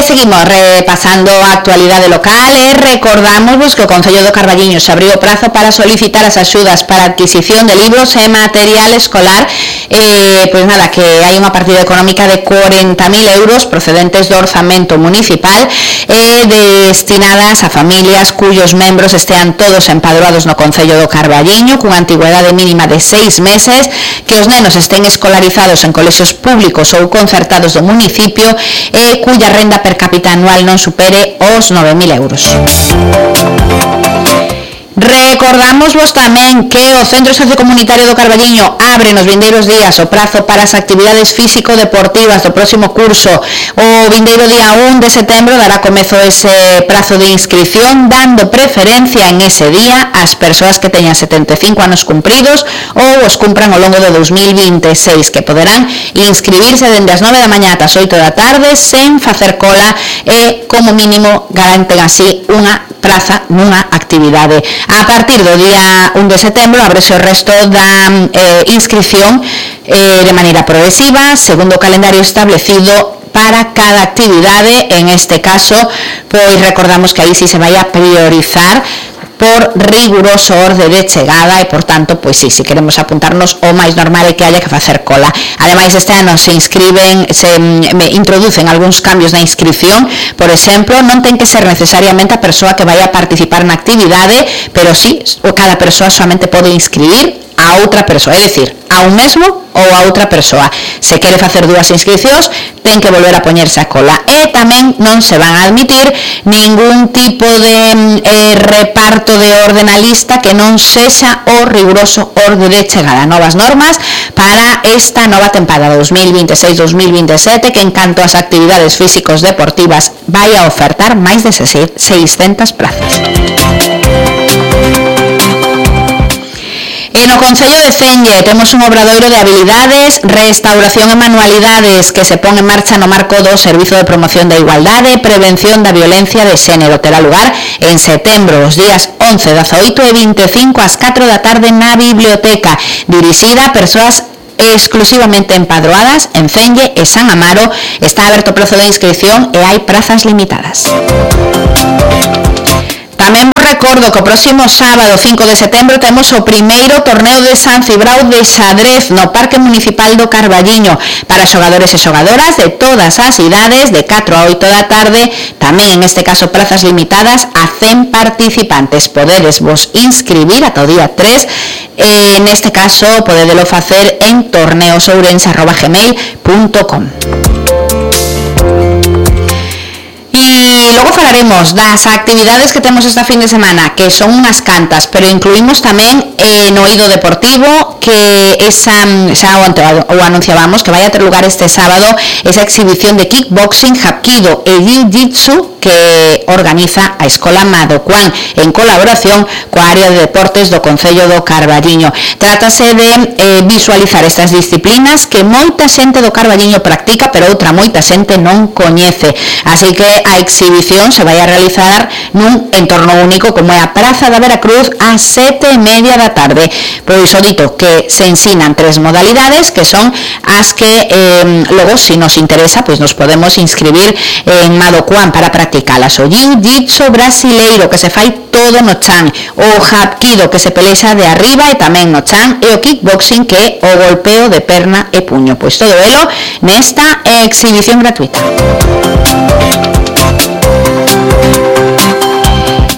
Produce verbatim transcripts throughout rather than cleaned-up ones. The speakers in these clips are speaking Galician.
seguimos repasando a actualidade local e recordamos que o Concello do Carballiño se abriu o prazo para solicitar as axudas para adquisición de libros e material escolar. Eh, pois nada, que hai unha partida económica de cuarenta mil euros procedentes do orzamento municipal e eh, destinadas a familias cuyos membros estean todos empadroados no Concello do Carballiño cunha antigüedade mínima de seis meses, que os nenos estén escolarizados en colexios públicos ou concertados do municipio e cuya renda per cápita anual non supere os nove mil euros. Recordamos tamén que o Centro Sociocomunitario do Carballiño abre nos vindeiros días o prazo para as actividades físico-deportivas do próximo curso. O vindeiro día un de setembro dará comezo ese prazo de inscripción, dando preferencia en ese día ás persoas que teñan setenta e cinco anos cumpridos ou os cumpran ao longo do dos mil vinte e seis, que poderán inscribirse dende as nove da mañá ata as oito da tarde sen facer cola e, como mínimo, garanten así unha praza nunha actividade. A partir do día un de setembro ábrese o resto da eh, inscripción eh, de maneira progresiva, segundo o calendario establecido para cada actividade. En este caso, pois recordamos que aí si se vai a priorizar por riguroso orde de chegada e, por tanto, pois sí, se queremos apuntarnos, o máis normal é que haya que facer cola. Ademais, este ano se inscriben, se me introducen algúns cambios na inscripción. Por exemplo, non ten que ser necesariamente a persoa que vai a participar na actividade, pero sí, cada persoa solamente pode inscribir a outra persoa, é dicir, a un mesmo ou a outra persoa. Se quere facer dúas inscripcións, ten que volver a poñerse a cola. E tamén non se van a admitir ningún tipo de eh, reparto de orde na lista que non sexa o riguroso orde de chegada. Novas normas para esta nova tempada dos mil vinte e seis dos mil vinte e sete, que en canto ás actividades físicos deportivas vai a ofertar máis de seiscentas plazas. E no Concello de Celle temos un obradoiro de habilidades, restauración e manualidades que se pon en marcha no marco do Servizo de Promoción da Igualdade e Prevención da Violencia de Xénero. Terá lugar en setembro, os días once, dezaoito e vinte e cinco ás catro da tarde na biblioteca, dirixida a persoas exclusivamente empadroadas en Celle e San Amaro. Está aberto o prazo de inscripción e hai prazas limitadas. Tamén vos recordo que o próximo sábado, cinco de setembro, temos o primeiro torneo de San Cibrao de xadrez no Parque Municipal do Carballiño para xogadores e xogadoras de todas as idades, de catro a oito da tarde. Tamén, en este caso, prazas limitadas a cen participantes. Podedes vos inscribir ata o día tres. E, neste caso, podedelo facer en torneosourense arroba gmail punto com. E logo falaremos das actividades que temos esta fin de semana, que son unhas cantas, pero incluímos tamén eh, no eido deportivo, que esa, xa o, o anunciábamos, que vai a ter lugar este sábado esa exhibición de kickboxing, hapkido e jiu-jitsu que organiza a Escola Madocuán en colaboración coa área de deportes do Concello do Carballiño. Trátase de eh, visualizar estas disciplinas que moita xente do Carballiño practica, pero outra moita xente non coñece. Así que a exhibición se vai a realizar nun entorno único como é a Praza da Veracruz ás sete e media da tarde. Pois o dito que se ensinan tres modalidades que son as que eh, logo, se nos interesa, pois nos podemos inscribir en Madocuán para practicalas. O jiu-jitsu brasileiro, que se fai todo no chan, o hapkido, que se pelexa de arriba e tamén no chan, e o kickboxing, que é o golpeo de perna e puño. Pois todo elo nesta exhibición gratuita.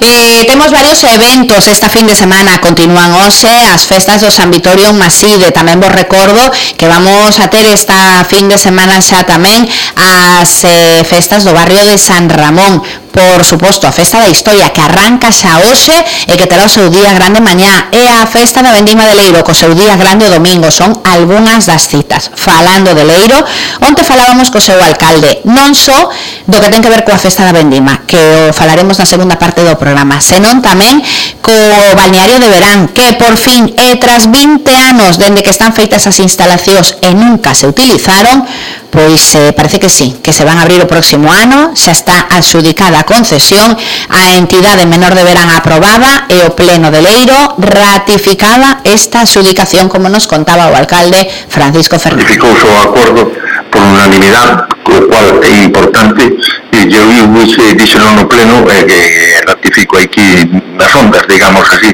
Eh, temos varios eventos esta fin de semana. Continúan hoxe as festas do San Vitorio Maside. Tamén vos recordo que vamos a ter esta fin de semana xa tamén as eh, festas do barrio de San Ramón. Por suposto, a Festa da Historia, que arranca xa hoxe e que terá o seu día grande mañá, e a Festa da Vendima de Leiro, co seu día grande o domingo. Son algunhas das citas. Falando de Leiro, onte falábamos co seu alcalde, non só do que ten que ver coa Festa da Vendima, que o falaremos na segunda parte do programa, senón tamén co balneario de verán, que por fin, e tras vinte anos dende que están feitas as instalacións e nunca se utilizaron, pois eh, parece que sí, que se van a abrir o próximo ano. Xa está adxudicada a concesión, a entidade menor de verán aprobada e o pleno de Leiro ratificaba esta adxudicación, como nos contaba o alcalde Francisco Fernández. Ratificouse o acordo por unanimidade, o cual é importante, e eu dixe, dixeron no pleno, e eh, que ratifico aquí nas ondas, digamos así,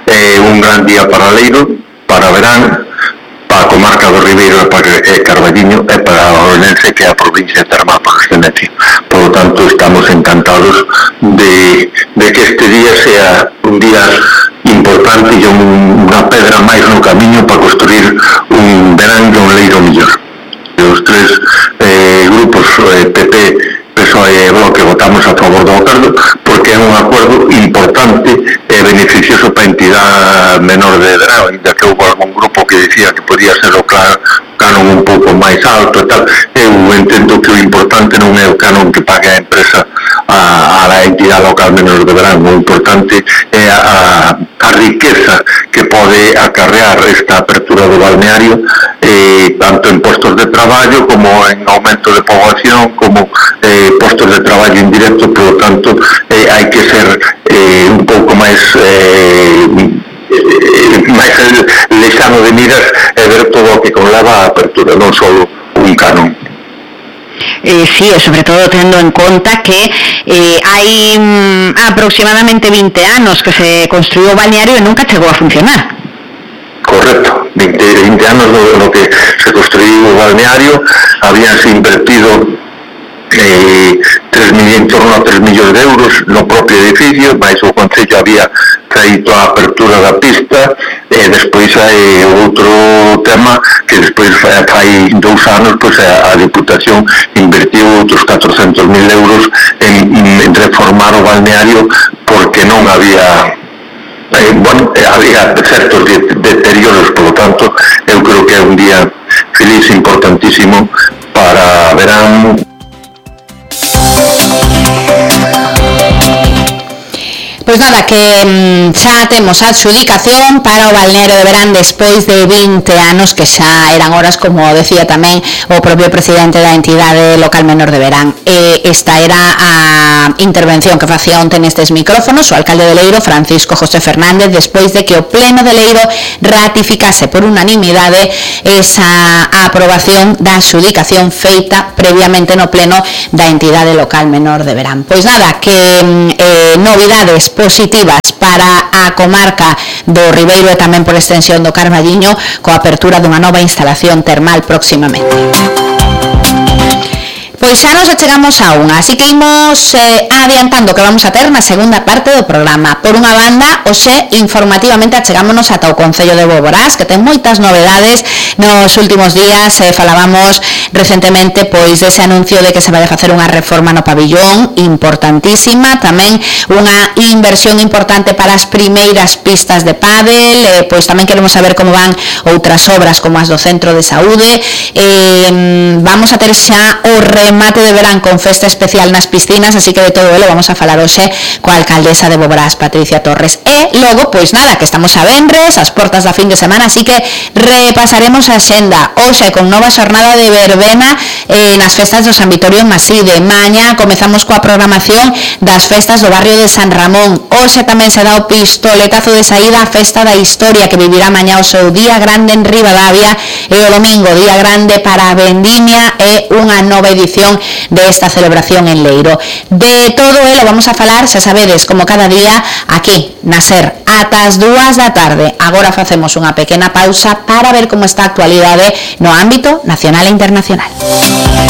eh, un gran día para Leiro, para Verán, para a comarca do Ribeiro e para eh, Carballiño e para a Orense, que é a provincia de Termal por excedencia. Por lo tanto, estamos encantados de, de que este día sea un día importante e un, unha pedra máis no camiño para construir un Verán e un Leiro mellor. Os tres eh, grupos, eh, P P, P S O E e Bloque, votamos a favor do acordo porque é un acordo importante e beneficioso para a entidade menor de Verán, ainda que houve algún grupo que dicía que podía ser o canon un pouco máis alto e tal. Eu entendo que o importante non é o canon que pague a empresa a, a entidade local menor de Verán, o importante é a, a riqueza que pode acarrear esta apertura do balneario, eh, tanto en postos de traballo como en aumento de poboación, como eh, postos de traballo indirecto. Por lo tanto, eh, hai que ser eh, un pouco máis eh, máis lexano de miras e ver todo o que conleva a apertura, non só un canon. Eh, sí, e sobre todo tendo en conta que eh, hai mm, aproximadamente vinte anos que se construiu o balneario e nunca chegou a funcionar. Correcto, veinte, veinte anos no, no que se construiu o balneario, habíanse invertido eh, tres mil, en torno a tres millóns de euros no propio edificio, mais o Concello había feito a apertura da pista, e despois hai outro tema que despois fai, fai dous anos pois a, a Diputación invertiu outros catrocentos mil euros en, en reformar o balneario porque non había Eh, bueno, eh, había certos deterioros. Por lo tanto, eu creo que é un día feliz, importantísimo para Verán. Pois nada, que mm, xa temos a adxudicación para o balneario de Verán despois de vinte anos, que xa eran horas, como decía tamén o propio presidente da entidade local menor de Verán. E esta era a intervención que facía onte nestes micrófonos o alcalde de Leiro, Francisco José Fernández, despois de que o pleno de Leiro ratificase por unanimidade esa aprobación da adxudicación feita previamente no pleno da entidade local menor de Verán. Pois nada, que eh, novidades positivas para a comarca do Ribeiro e tamén por extensión do Carballiño, coa apertura dunha nova instalación termal próximamente. Pois xa nos achegamos a unha, así que imos eh, adiantando que vamos a ter na segunda parte do programa. Por unha banda, hoxe informativamente achegámonos ata o Concello de Boborás, que ten moitas novedades. Nos últimos días eh, falábamos recentemente pois dese anuncio de que se vai a facer unha reforma no pabillón importantísima, tamén unha inversión importante para as primeiras pistas de pádel, eh, pois tamén queremos saber como van outras obras como as do Centro de Saúde. Eh, vamos a ter xa o remate de verán con festa especial nas piscinas, así que de todo elo vamos a falar hoxe coa alcaldesa de Boborás, Patricia Torres. E logo, pois nada, que estamos a venres, as portas da fin de semana, así que repasaremos a xenda hoxe con nova xornada de verbena eh, nas festas do San Vitorio en Maside. Maña comezamos coa programación das festas do barrio de San Ramón. Hoxe tamén se dá o pistoletazo de saída á festa da historia, que vivirá mañá o seu día grande en Ribadavia, e o domingo día grande para a vendimia e unha nova edición de esta celebración en Leiro. De todo elo vamos a falar, xa sabedes, como cada día aquí na SER ata as dúas da tarde. Agora facemos unha pequena pausa para ver como está a actualidade no ámbito nacional e internacional.